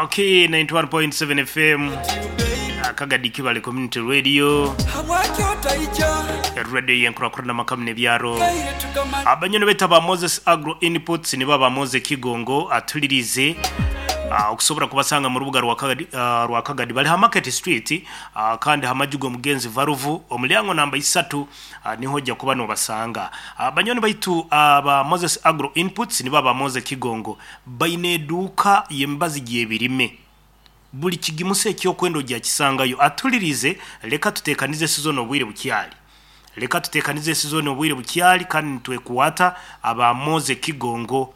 Okay, 91.7 FM Kagadi Kibale Community Radio Radio yenkurakurana amaka muno ebyaro abanyoni baitu aba Moses Agro Inputs nibo aba Moses Kigongo atulirize ah, okusobora kubasanga mu rubuga rwa Kagadi, ah, rwa Kagadi bali ha Market Street ah, kandi ha maju g'omugenzi Varuvu omulyango namba isatu Niho oja kuba nobasanga. Banywani baitu aba Moses Agro Inputs nibo aba Moze Kigongo baine eduuka y'emibazi gy'ebirime. Buli kigimusa eky'okwenda oja kisangayo. Atulirize, leka tutekanize sizoni obwire bukyali. Leka tutekanize sizoni obwire bukyali kandi nitwekwata aba Moze Kigongo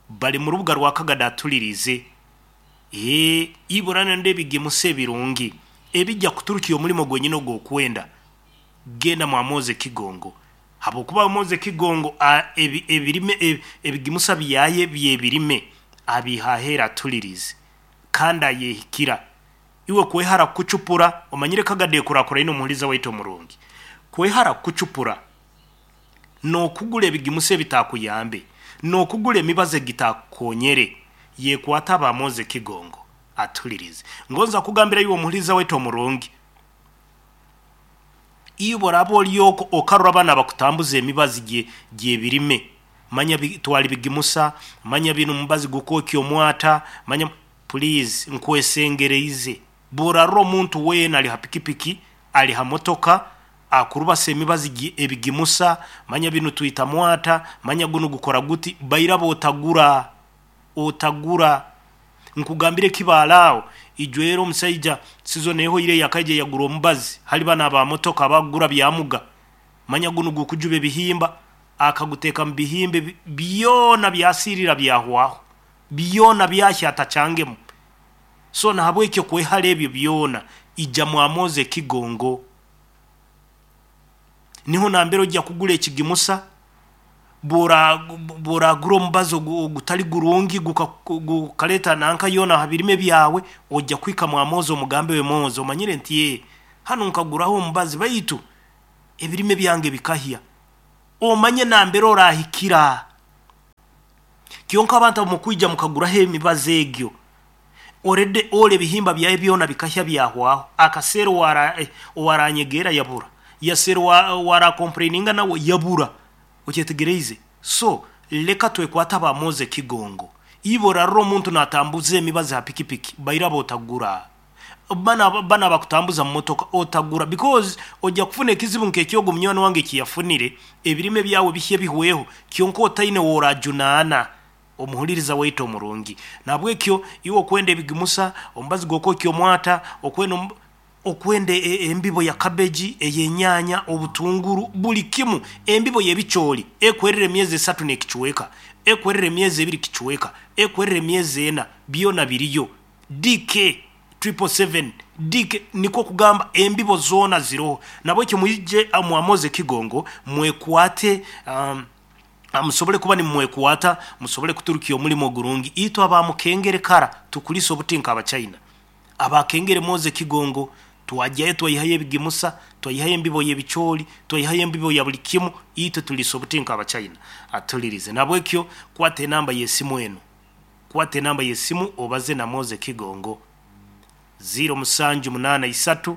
bali mu rubuga rwa Kagadi atulirize. Eeh, ibura nende ebigimusa ebirungi ebija kuturukya omulimo gwenyini ogw'okwenda. Genda mwa Moze Kigongo habwokuba Moze Kigongo a ebi ebirime ebi ebigimusa byaye by'ebirime abiiha aheeru atulirize kandi ayehikira. Iwe kwehara kukucupura, omanyire Kagadi ekurakuraine omuhuriza waitu omurungi. Kwehara kukucupura n'okugura ebigimusa ebitakuyambe, n'okugura emibazi egitakukonyere, yekwata aba Moze Kigongo atulirize. Ngonza kugambira iwe omuhuriza waitu omurungi. Iwe oraba ori okwo okarora abana abakutambuza emibazi gye gy'ebirime, manya bi twara ebigimusa, manya binu omubazi gukwokya omwata, manya Please nkwesengereize bw'orarora omuntu weena ari ha pikipiki, ari ha motoka akurubasa emibazi gye ebigimusa, manya binu twita mwata, manya gunu gukora guti, bairaba otagura. Otagura. Nkugambire ekibaare aho, ijwera omusaija sizoni ehoire yakaija yagura omubazi hali banu aba motoka abakugura byamuga. Manya gunu gukujuba ebihimba, akaguteeka mu bihimba ebi byona byasiirira byahwaho. Byona byahya atakyangemu. So nahabwekyo kwehara ebyo byona, ija mwamoze ekigongo. Niho nambere oja kugura ekigimusa. Bw'oragura omubazi ogutali gurungi gukaleta nanka yoona aha birime byawe, oja kuhika mwa Moze omugambe we, Moze omanyire nti ee, hanu nkaguraho omubazi baitu ebirime byange bikahya. Omanye nambere orahikira. Kyonka abantu abamwe kwija mukaguraho emibazi egyo, already ole ebihimba byaye byona bikahya byahwaho, akaseera owaranyegeera yabura, yaseera owarakompureininga nawe yabura, okyetegereize? So leka twekwate aba Moze Kigongo, iwe orarora omuntu natambuza emibazi ha pikipiki bairaba otagura, banu abakutambuza mumotoka otagura because oja kufuna ekizibu nk'ekyogu munywani wange ekiyafunire, ebirime byawe bihye bihweho kyonka otaine oworajunaana. Omuhuliriza waitu omurungi. Nahabwekyo, iwe okwenda ebigimusa, omubazi gw'okwokya omwata, okwenda okwenda embibo ya kabeji, ey'enyaanya, obutunguru, buli kimu, embibo y'ebicooli ekwerera emyezi esatu n'ekicweka, ekwerera emyezi ebiri kicweka, ekwerera emyezi ena, byona biriyo. DK triple seven, DK, nikwo kugamba embibo zoona ziroho. Nahabwekyo mwije mwamoze Kigongo mwekwate. Musobole kuba nimwekwata, musobole kuturukya omulimo ogurungi. Itwe aba Mukengere kara tukulisa obuti nk'Abachaina. Aba Kengere mwoze Kigongo, twagyayo twaihayo ebigimusa, twaihayo embibo y'ebicooli, twaihayo embibo ya buli kimu, itwe tulisa obuti nk'Abachaina. Atulirize. Nahabwekyo kwata enamba y'esimu enu. Kwata enamba y'esimu obaze na Mwoze Kigongo. Ziiro musanju munaana isatu.